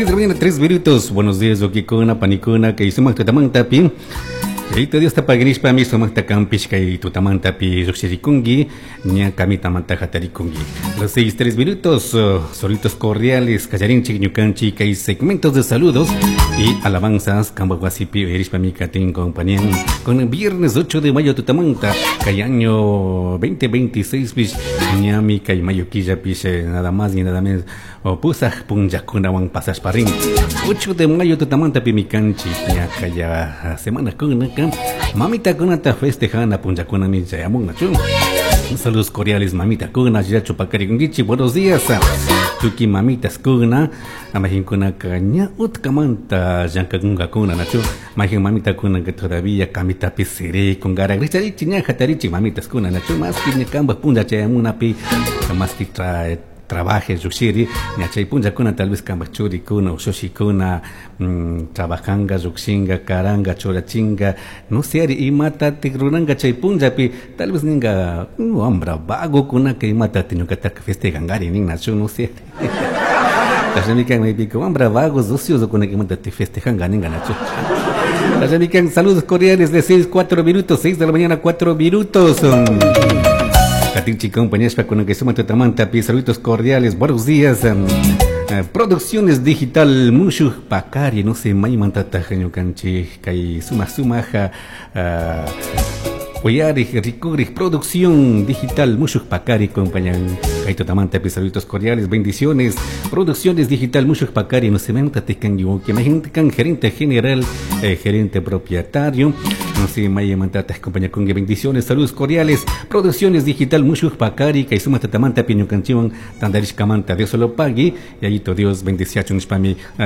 Las 6 de la mañana, 3 minutos. Buenos días, wawaykuna, panikuna, kay sumak tutamantapi. Yayato Diosta paginishpami sumakta kanpish kay tutamantapi llujshirikunki, ña kamitamanta hatarikunki. Las 6, 3 minutos, saludos cordiales, kallarinchik ñukanchik kay segmentos de saludos y alabanzas, kambaj wasipi uyarishpami katin compañía con el viernes 8 de mayo tutamanta, kay año 2026 pish, ñami kay mayo killapish, nada más ni nada menos, pusaj punllakunawan pasashpa rin. 8 de mayo tutamantapimi kanchik, ña kaya semana kunaka, mamitakunata festejana punllakunami chayamunnachu. Saludos cordiales mamitakuna, yachu pakarikunkichik, buenos días. Tuki mamitas kuna, majinkuna ña utkamanta llankakungakuna nachu, majin mamitakuna que todavía kamitapi sirikun gara richarichik ña hatarichik mamitas kuna nachu, más que ña kambaj punlla chayamunapi, más que trae trabaje llukshiri, ña chay punllakuna tal vez kambaj churikuna ushushikuna, trabajanga, llukshinga, karanga, churachinga, no sé, ari imatatik ruranka chay punllapi, tal vez ninga, wambra vagokunaka imatatik ñukataka festejangari nin nachu, no sé. Tashamikan maypika wambra vagos ociosokunaka imatatik festejanga ninga nachu. Tashamikan, saludos cordiales de 6, 4 minutos, 6 de la mañana, 4 minutos. Katinchi compañía con que suma tutamanta, saludos cordiales, buenos días. Producciones Digital Mushuj Pakari, no sé, maymantata ñukanchik kay suma sumaja, uyarij rikurij Producción Digital Mushuj Pakari compañía kay tutamanta, saludos cordiales, bendiciones. Producciones Digital Mushuj Pakari, no sé, maymantata kan que imagínate kan gerente general, gerente propietario, no sé, maymantata compañía con bendiciones, saludos cordiales. Producciones Digital Mushuj Pakari, kay suma tutamanta ñukanchikwan tandarishkamanta, Dios lo pague, y ahí Dios bendeciachun nishpami.